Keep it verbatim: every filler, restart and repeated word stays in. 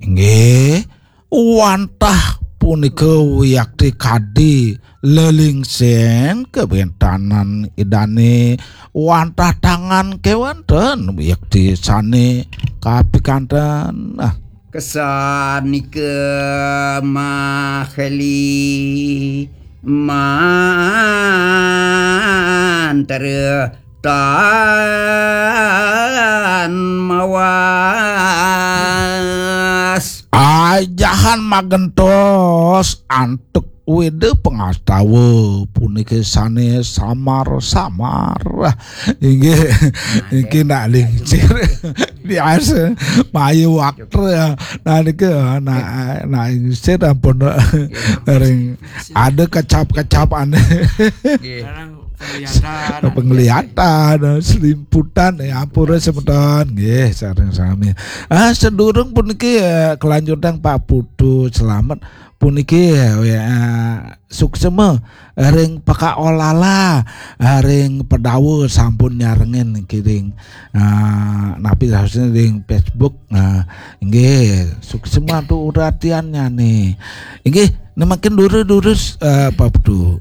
Inggih, wantah punika wiakti kadi lelingsing kawéntenan Idané, wantah tangan kéwanten wiakti sané kapikanten. Ah. Kesanika maheli mantra tan mawas. Ajahan magentos antuk Weda pangastawa puniki sané samar-samar. Inggih, nah, niki nak lingsir. Biasa, maya waktu ya. Nah, niki, nah, nah, lingsir ampun ring ada kecap-kecap aneh. Penglihatan, penglihatan, selimputan, ya ampura semeton. Nggih, sareng sami. Ah, sedurung puniki, eh, kelanjutan Pak Putu Selamet puniki, eh, suksema ring pakaolala, eh, ring Pedawa sampun nyarengin kiring. Ah, napi rasane ring Facebook. Ah, nggih, suksema tu uratiannya nih. Nggih, nemakin durus-durus, eh, Pak Putu.